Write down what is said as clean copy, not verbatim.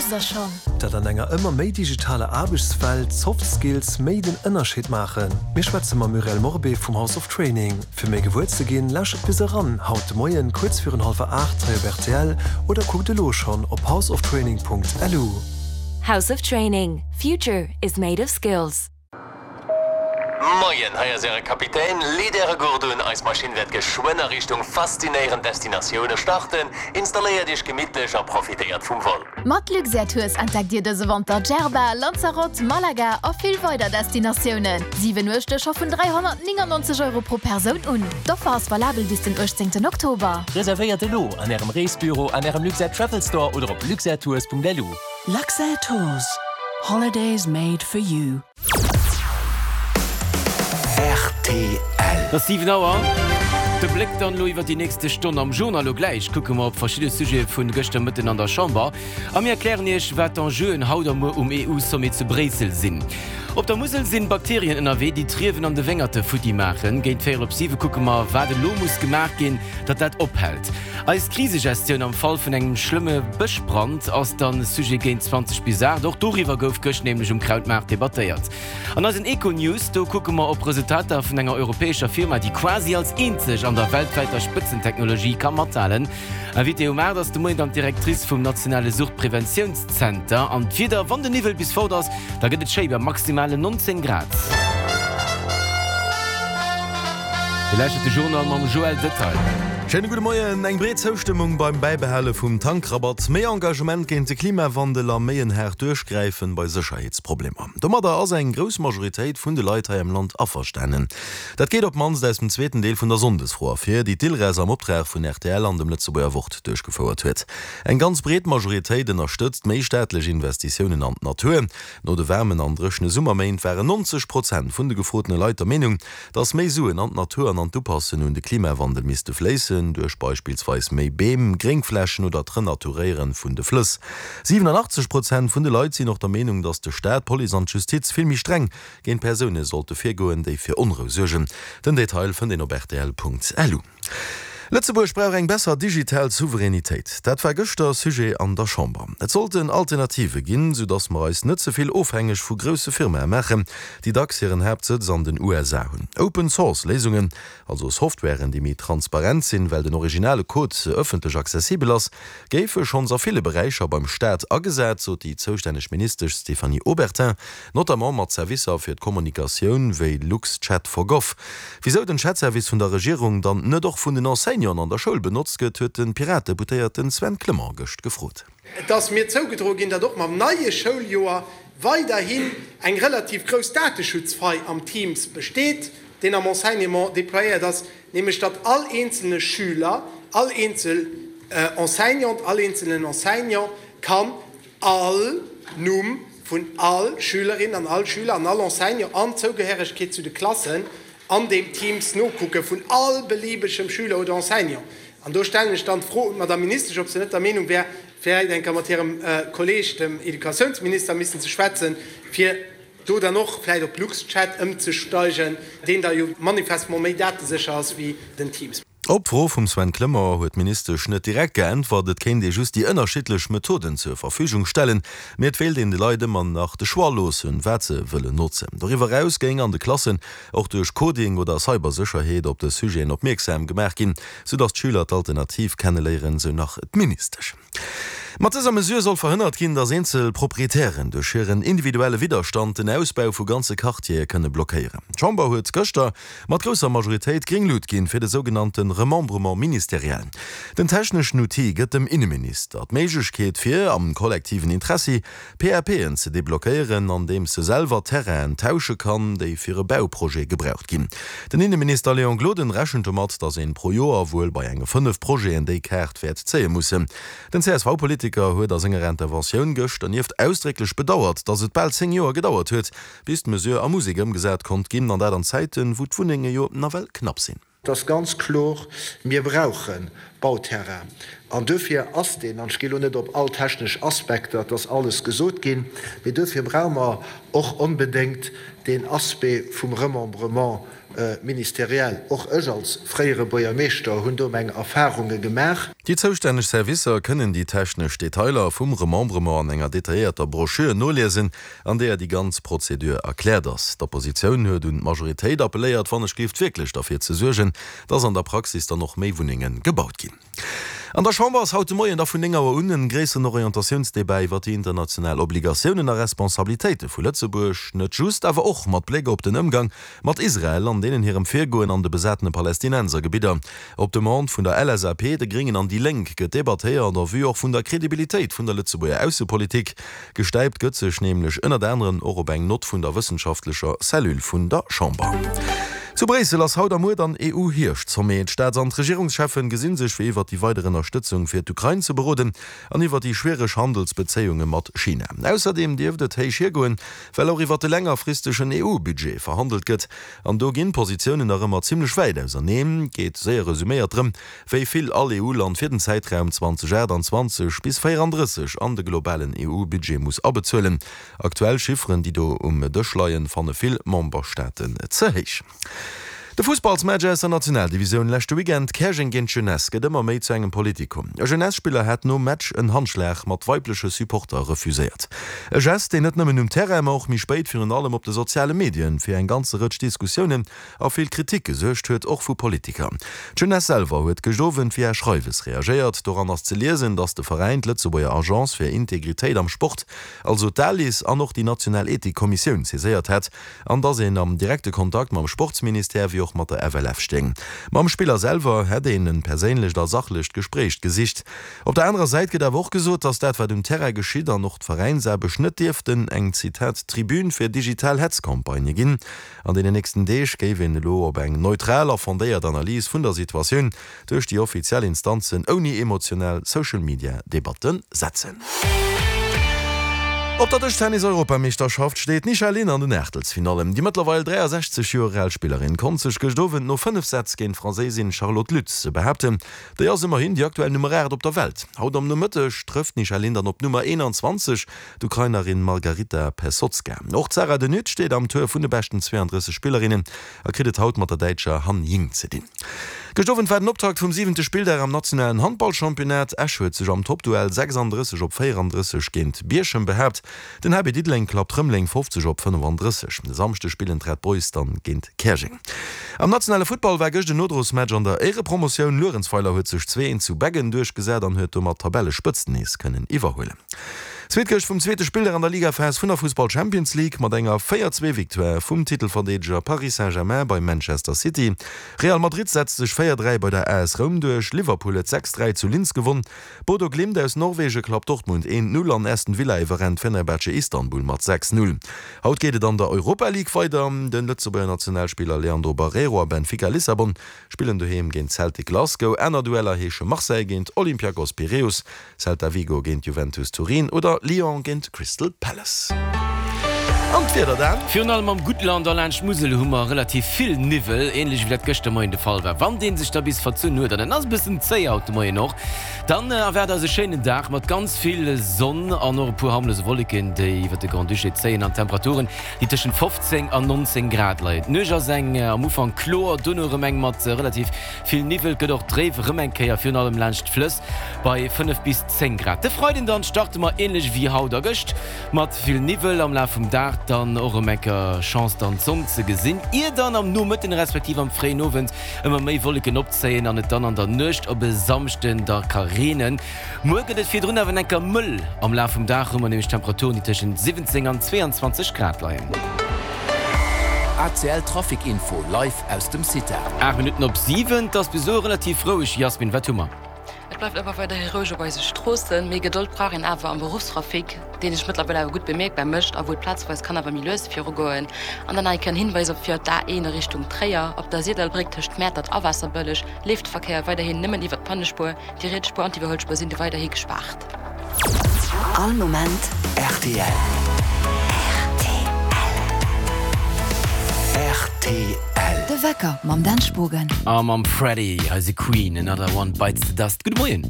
wosst der schonn? Datt an enger ëmmer méi digitaler Aarbechtswelt d'Soft Skills méi den Ënnerscheed maachen? Mir schwätze mam Muriel Morbé vum House of Training. Fir méi gewuer ze ginn, lauschtert bis eran haut de Moien kuerz virun hallwer 8 hei op rtl oder kuckt elo schonn op houseoftraining.lu. House of Training, Future is made of skills. Moien, hei ass äre Kapitän. Leet äre Gurt un, eis Maschinn wäert geschwënn a Richtung faszinéierend Destinatioune starten. Installéiert iech gemittlech a profitéiert vum Vol. Mat Luxair Tours entdeckt Dir dëse Wanter Djerba, Lanzarote, Malaga a vill weider Destinatiounen. 7 Nuechte scho vun 399 Euro pro Persoun un. D'Offer ass valabel bis den 18 Oktober. Reservéiert elo an ärem Reesbüro, an ärem Luxair Travel Store oder op luxairtours.lu. Luxair Tours, Holidays made for you. Rtl. Et ass 7 Auer. De Bléck dann elo iwwer déi nächste Stonn am Journal. Elo gläich kucke mer op verschidde Sujete vun gëschter Mëtten an der Chamber a mir erklären Iech, wat d'Enjeuen haut a muer um EU-Sommet zu Bréissel sinn. Op der Musel sinn Bakterien ënnerwee, déi d'Riewen an de Wéngerte futti maachen. Géint véierel op siwe kucke mer, wat elo muss gemaach ginn, datt dat ophält. Eis Krisegestioun am Fall vun engem schlëmme Bëschbrand ass dann Sujet géint 20 bis 8. Och doriwwer gouf gëscht nämlech um Krautmaart debattéiert. An eisen Econews, do kucke mer op Resultater vun enger europäescher Firma, déi quasi als eenzeg an der weltwäiter Spëtzentechnologie ka mathalen. Invitée um 8 ass de Moien dann d'Directrice vum nationale Suchtpreventiounszenter. An d'Wieder, wann den Niwwel bis fort ass, da gëtt et schéi bei maximalen 19 Grad. Dir lauschtert de Journal mam Joël Detail. Schéine gudde Moien. Eng breet Zoustëmmung beim Bäibehale vum Tankrabatt, méi Engagement géint de Klimawandel a méi en haart Duerchgräifen bei Sécherheetsproblemer. Domadder ass eng grouss Majoritéit vun de Leit hei am Land averstanen. Dat geet op d'mannst aus dem zweeten Deel vun der Sonndesfro ervir, déi d'ILRES am Optrag vun rtl an dem Lëtzebuerger Wort duerchgefouert huet. Eng ganz breet Majoritéit ënnerstëtzt méi staatlech Investitiounen an d'Natur. No de waarmen an dréchene Summerméint waren 90 Prozent vun de gefrotene Leit der Meenung, Dass méi Suen an d'Natur an an d'Upassen un de Klimawandel misste fléissen, duerch beispillsweis méi Beem, Gréngflächen oder d'Renaturéieren vun de Flëss. 87 Prozent vun de Leit sinn och der Meenung, dass de Staat, d'Police an d'Justiz vill méi streng géint Persoune sollte virgoen, déi fir Onrou suergen. Den Detail fënnt een op rtl.lu. Lëtzebuerg brauch eng besser digital Souveränitéit. Dat war gëschter Sujet an der Chamber. Et sollten Alternative ginn, sou datt mer eis net ze vill ofhängeg vu grousse Firmae maachen, déi dacks hiren Haaptsëtz an den USA hunn. Open Source Léisungen, also Softwaren, déi méi transparent sinn, well den originale Code ëffentlech accessibel ass, géife schonns a ville Beräicher beim Staat agesat, sot déi zoustänneg Ministesch Stéphanie Obertin. Notamment mat Servicer fir d'Kommunikatioun wéi LuxChat for Gov. Wisou den Chatservice vun der Regierung dann net och vun den Enseignanten an der Schoul benotzt gëtt, huet de Piratedeputéierten Sven Clement gëscht gefrot. Et ass mir zougedroe ginn, datt och mam neie Schouljoer weiderhin eng relativ grouss Dateschutzfei am Teams besteet, deen am Enseignement déployéiert ass, nämlech datt all eenzelne Schüler, all eenzel Enseignante, all eenzelnen Enseignant kann all Numm vun all Schülerin an all Schüler an all Enseignant an d'Zougehéregkeet zu de Klassen an deem Teams nokucke vun all beliebegem Schüler oder Enseignant. An do stellen ech dann d'Fro un d'Madame Ministesch, ob se net der Meenung wär, vläicht eng Kéier mat hirem Kolleeg, dem Educatiounsminister, missen ze schwätzen, fir do dann och vläicht op LuxChat ëmzesteigen, deen da jo manifestement méi datesécher ass wéi den Teams. Op d'Fro vum Sven Clement huet d'Ministesch net direkt geäntwert. Et kéint ee just déi ënnerschiddlech Methoden zur Verfügung stellen, mee et wéilt een de Leit ëmmer nach de Choix loossen, wat se wëllen notzen. Doriwwer eraus géing an de Klassen och duerch Coding oder Cybersécherheet op dës Sujeten opmierksam gemaach ginn, soudatt d'Schüler d'Alternativ kenneléieren, sou nach d'Ministesch. Mat dëser Mesure soll verhënnert ginn, datt eenzel Proprietären duerch hiren individuelle Widderstand den Ausbau vu ganze Quartiere kënne blockéieren. D'Chamber huet gëschter mat grousser Majoritéit gréng Lut ginn fir de sougenannte Remembrement ministériel. Den techneschen Outil gëtt dem Inneminister d'Méiglechkeet fir, am kollektiven Interessi, PAPen ze deblockéieren, andeems e selwer Terrainen tausche kann, déi fir e Bauprojet gebraucht ginn. Den Inneminister Léon Gloden rechent domat, datt een pro Joer wuel bei enge 5 Projeten déi Kaart wäert zéie mussen. Den CSV-Politiker huet a senger Interventioun gëscht dernieft ausdrécklech bedauert, datt et bal 10 Joer gedauert huet, bis d'Mesure a Musek ëmgesat konnt ginn, an dat an Zäiten, wou d'Wunnenge jo nawell knapp sinn. Et ass ganz kloer, mir brauche Bauterrain. An duerfir ass deen, an ech gi elo net op all technesch Aspekter, et ass alles gesot ginn, mee duerfir brauche mer och onbedéngt deen Aspect vum Remembrement. Ministériel. Och ech als fréiere Buergermeeschter hunn do meng Erfahrunge gemaach. Déi zoustänneg Servicer kënnen déi technesch Detailer vum Remembrement an enger detailléierter Broschür noliesen, an deeër déi ganz Prozedur erkläert ass. D'Oppositioun huet un d'Majoritéit appelléiert, wann ech géift wierklech derfir ze suergen, dass an der Praxis dann och méi Wunnenge gebaut ginn. An der Chamber ass haut de Moien da vun 9 Auer un en gréisseren Orientatiounsdebat iwwer déi international Obligatiounen a Responsabilitéite vu Lëtzebuerg, net just, awer och mat Bléck op den Ëmgang mat Israel an deenen hirem Virgoen an de besatene Palästinensergebidder. Op Demande vun der LSAP, de Gréngen an déi Lénk gëtt debattéiert en vue och vun der Kredibilitéit vun der Lëtzebuerger Aussepolitik. Gestäipt gëtt sech nämlech ënnert aneren och op eng Nott vun der wëssenschaftlecher Cellule vun der Chamber. Zu Bréissel ass haut a muer dann EU-Hierscht-Sommet. D'Staats an d'Regierungscheffen gesinn sech fir iwwert déi weider Ënnerstëtzung fir d'Ukrain ze beroden an iwwer déi schwiereg Handelsbezéiunge mat China. Ausserdeem dierft et héich hiergoen, well och iwwer de längerfristegen EU-Budget verhandelt gëtt. An do ginn d'Positiounen nach ëmmer zimmlech wäit auserneen. Et geet, séier resuméiert, drëm, wéi vill all EU-Land fir den Zäitraum 2028 bis 34 an de globalen EU-Budget muss abezuelen. Aktuell Chifferen, déi do um Dësch leien, fanne vill Memberstaaten ze héich. De Fussballsmatch aus der Nationaldivisioun leschte Weekend, Käerjeng géint Jeunesse, gëtt ëmmer méi zu engem Politikum. E Jeunesse-Spiller hat nom Match en Handschlag mat weibleche Supporter refuséiert. E Gest, deen net nëmmen um Terrain, ma och méi spéit virun allem op de soziale Medien fir eng ganze Rëtsch Diskussiounen a vill Kritik gesuergt huet, och vu Politiker. D'Jeunesse selwer huet gëscht Owend via Schreiwes reagéiert. Doran ass ze liesen, datt de Veräin d'Lëtzebuerger Agence fir Integritéit am Sport, also d'ALIS, an och déi national Ethikkommissioun saiséiert hätt an datt een am direkte Kontakt mam Sportsministère wéi och mat der FLF stéing. Mam Spiller selwer hätt een e perséinlecht a sachlecht Gespréich gesicht. Op der anerer Säit gëtt awer och gesot, datt dat wat um Terrain geschitt an och d'Veräinsaarbecht net dierften eng, Zitat, Tribün fir digital Hetzcampagnë ginn. An deenen nächsten Deeg géif een elo op eng neutral a fondéiert Analys vun der Situatioun duerch déi offiziell Instanzen ouni emotional Social-Media-Debatte setzen. Op der Dëschtennis-Europameeschterschaft steet d'Nisha Lin an den Aachtelsfinallen. Déi mëttlerweil 63 Joer al Spillerin konnt sech gëscht Owend no 5 Sätz géint d'Franséisin Charlotte Lutz behaapten. Déi ass ëmmerhin déi aktuell Nummer 8 op der Welt. Haut am Nomëtteg trëfft d'Nisha Lin dann op d'Nummer 21, D'Ukrainerin Margaryta Pesotska. Och d'Sarah De Nutte steet am Tour vun de beschten 32 Spillerinnen a kritt et haut mat der Däitscher Han Ying ze dinn. Gëscht Owend war den Optakt vum siwente Spilldag am nationalen Handballchampionnat. Esch huet sech am Toppduell 36 op 34 géint Bierchem behaapt. Den HB Diddeleng klappt Rëmeleng 50 op 35. E Samschde spillen d'Red Boys dann géint Käerjeng. Am nationale Futtball war gëscht en Nodrosmatch an der Éierepromotioun. Luerenzweiler huet sech 2, 1 zu Beggen duerchgesat an huet domat d'Tabellespëtzt nees kënnen iwwerhuelen. Zweet Gëscht vum zweete Spilldag an der Ligaphas vun der Fussball Champions League mat enger 4, 2 Victoire vum Titelverdeedeger Paris Saint-Germain bei Manchester City. Real Madrid setzt sech 4, 3 bei der AS Roum duerch, Liverpool huet 6, 3 zu Linz gewonn, Bodo Glimt aus Norwege klappt Dortmund 1, 0 an Aston Villa iwwerrennt Fenerbahce Istanbul mat 6, 0. Haut geet et an der Europa League weider. Den Lëtzebuerger Nationalspiller Leandro Barreiro a Benfica Lissabon spillen doheem géint Celtic Glasgow. Aner Dueller heesche Marseille géint Olympiakos Piräus, Celta Vigo géint Juventus Turin oder Lyon géint Crystal Palace. An d'Wieder dann? Virun allem am Guttland a laanscht d'Musel hu mer relativ vill Niwwel, änlech wéi dat gëschter Moien de Fall war. Wann dee sech da bis verzunn huet, an en ass e bëssen zéi haut de Moien och, dann erwaart eis e schéinen Dag mat ganz vill Sonn an och e puer harmlose Wolleken, déi iwwert de Grand-Duché zéien an Temperaturen, déi tëschent 15 an 19 Grad leien. D'Nuecht ass eng am Ufank kloer, dono erëm eng mat relativ vill Niwwel, gëtt och dréif erëm eng Kéier, virun allem laanscht d'Flëss bei 5 bis 10 Grad. De Freiden dann starte mer ähnlech wéi haut a gëscht mat vill Niwwel, am Laf vum Dag dann och erëm eng Kéier Chance dann d'Sonn ze gesinn, ier dann am Nomëtten respektiv am fréien Owend ëmmer méi Wolleken opzéien an et dann an der Nuecht op e Samschden da ka reenen. Muer gëtt et virdrun awer enker mëll, am Laf vum Dag hu mer nämlech Temperaturen déi tëschent 17 an 22 Grad leien. ACL Trafic Info live aus dem CITA. 8 Minutten op 7, 't ass bis elo relativ roueg. Jasmin, wat hu mer? Et bleift awer weiderhi roueg op eise Stroossen. Méi Gedold brauch een awer am Beruffstrafic, deen sech mëttlerweil awer gutt bemierkbar mécht a wou et plazweis kann awer méi lues virugoen. An dann nach eng Kéier en Hinweis op fir d'A1 a Richtung Tréier. Op der Sirdallbréck tëscht Mäertert a Waasserbëlleg leeft de Verkéier weiderhin nëmmen iwwer d'Pannespuer. Déi riets Spuer an d'Iwwerhuelspuer sinn du weiderhi gespaart. All Moment rtl. Rtl. De Wecker mam Dan Spogen. A mam Freddy, hei si Queen, Another One Bites the Dust. Gudde Moien.